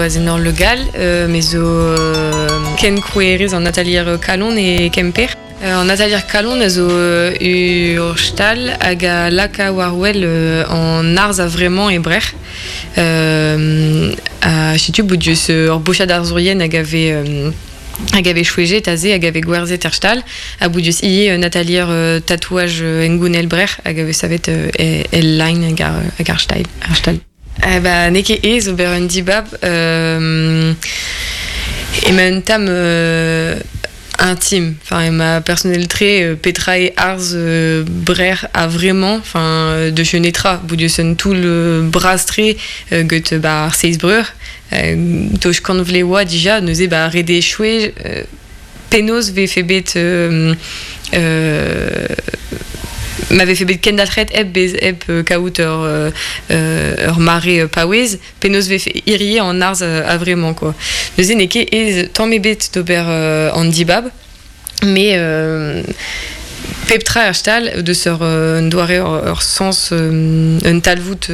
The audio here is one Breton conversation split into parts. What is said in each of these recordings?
Azenor Le Gall, me zo kenkrouerez an atalier Kalon e Kemper. An atalier Kalon a zo ur stal hag a laka war-wel an arz a-vremañ e Brec'h. Ha setu bout deus ur bochad arzourien hag a vez hag a vez chouejet aze hag a vez gwerzhet er stal. Ha bout deus ivez un atalier tatouaj hengounel Brec'h hag a vez savet el line hag ar stal. Eh ba, n'eo ket aes ober un dibab. Emañ un tamm intime. Enfin, emañ personnel-tre petra eo arz brec'h a-vremañ. Enfin, deus netra. Bout deus un toull bras-tre get ba ar Seiz Breur. Toch kant vloaz oa dija, neuze ba ret eo chouez Penaos 'vefe bet ma vefe bet kendalc'het hep bez hep kaout ur ur mare paouez, penaos 'vefe hirie an arz a-vremañ quoi. Neuze n'eo ket aes tamm ebet d'ober an dibab, mais pep tra er stal deus ur un doare ur sens un talvoud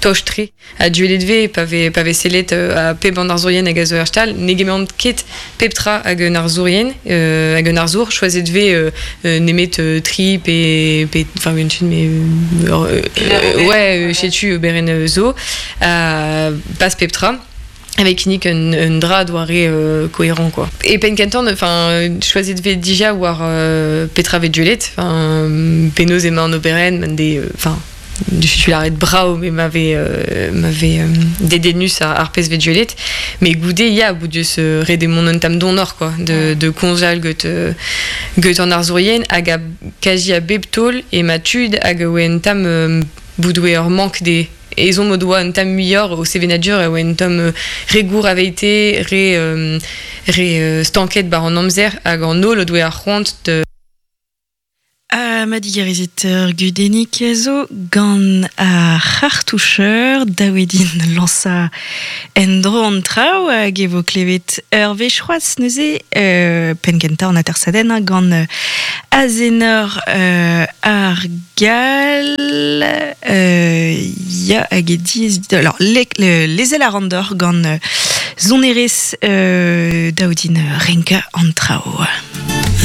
toch-tre. Ha duellet 'vez pa vez pa vez sellet ha pep an arzourien hag a zo er stal ne gemeront ket pep tra hag un arzourien hag un arzour choazet 'vez nemet tri pe pe enfin un mais ouais setu oberenn zo pas pep tra avec kinnig un, un dra doare cohérent quoi. E penn kentañ enfin choazet 'vez dija war petra 'vez duellet enfin penaos emañ an oberenn man de enfin Je suis lâret brav mais m'avait m'avait dedennus ar pezh 'vez duellet mais goude ya bout deus ret eo mont un tamm donoc'h quoi de de komzal get get an arzourien hag a kazi a bep taol ema tud hag a oa un tamm bout oa ur mank dezhe ezhomm o doa un tamm muioc'h o sevenadur a oa un tamm re gour aveite re re stanket 'bar an amzer hag an holl o doa ar c'hoant de Ha ma digarezit ur gudennig zo gant ar c'hartoucher dav eo din lañsañ en-dro an traoù hag e vo klevet ur wech c'hoazh neuze penn-kentañ an atersadenn gant Azenor ar Gall ya hag e diaes alors lezel a ran deoc'h gant sonerezh dav din renkañ an traoù.